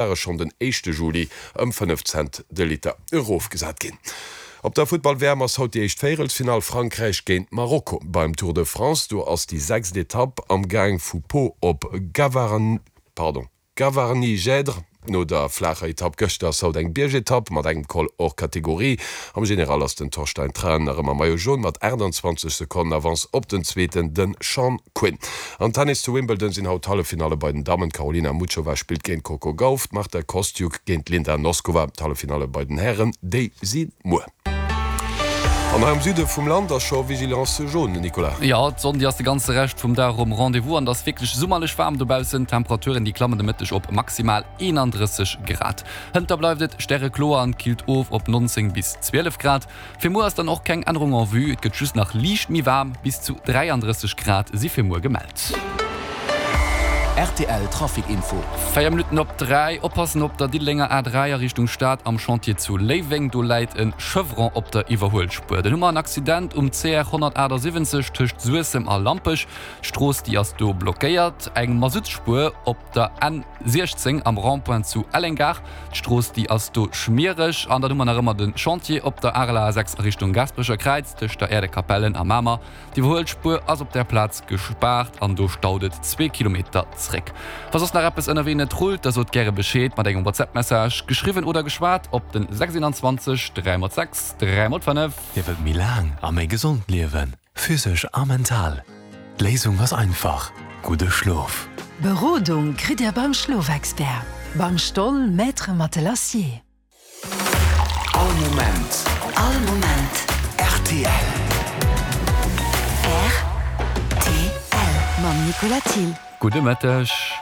Ware schonn den éischte Juli ëm 5 Cent de Liter erofgesat ginn. Op der Futtball-WM ass haut déi éischt Véierelsfinall, Frankräich géint Marokko. Beim Tour de France, do ass déi sechst Etapp am Gaang vu Pau op Gavarnie-Gèdre. No der flaacher Etapp gëschter ass haut eng Biergetapp mat engem Col hors catégorie. Am General ass den Torstein Træen nach ëmmer Maillot Jaune mat 28 Sekonnen Avance op den Zweeten, de Sean Quinn. Am Tennis zu Wimbledon sinn haut d'Halleffinalle bei den Dammen. D'Karolina Muchova spillt géint d'Coco Gauff, d'Marta Kostyuk géint d'Linda Noskova. D'Halleffinalle bei den Hären, déi si muer. An hei am Süde vum Land ass scho Vigilance jaune, Nicolas. Jo, d'Sonn déi ass de ganze Rescht vum Dag um Rendez-vous an et ass wierklech summerlech waarm dobaussen. D'Temperaturen déi klammen de Mëtteg op maximal 31 Grad. Hënter bleift et stärekloer an killt of op 19 bis 12 Grad. Fir muer ass dann och keng Ännerung en vue, et gëtt just nach liicht méi waarm, bis zu 33 Grad si fir muer gemellt. Rtl Trafic Info. 4 Minutten op 3, Oppassen op der Diddelenger A3 a Richtung Stad am Chantier zu Léiweng, do läit e Chevron op der Iwwerhuelspuer. Dann hu mer en Accident um CR 178 tëscht Suessem a Lampech, d'Strooss déi ass do blockéiert. Eng Masuttspuer op der N 16 am Rond-point zu Elleng-Gare. D'Strooss déi ass do schmiereg. An dann hu mer nach ëmmer de Chantier op der Areler A6 a Richtung Gaasperecher Kräiz tëscht der Äerdekapellen a Mamer. D'Iwwerhuelspuer ass op där Plaz gespaart an do staut et zwee Kilometer zréck. Wa soss nach eppes ënnerwee net rullt, da sot gäre Bescheed mat engem WhatsApp-Message, geschriwwen oder geschwat, op den 621 3 x 6 3 x 5. Dir wëllt méi laang a méi gesond liewen? Physesch a mental. D'Léisung ass einfach, gudde Schlof. Berodung kritt Dir beim Schlofexpert, beim Stoll Maître Matelassier. All Moment. All Moment. Rtl. Rtl. Mam Nicolas Thill. Gudde Mëtteg.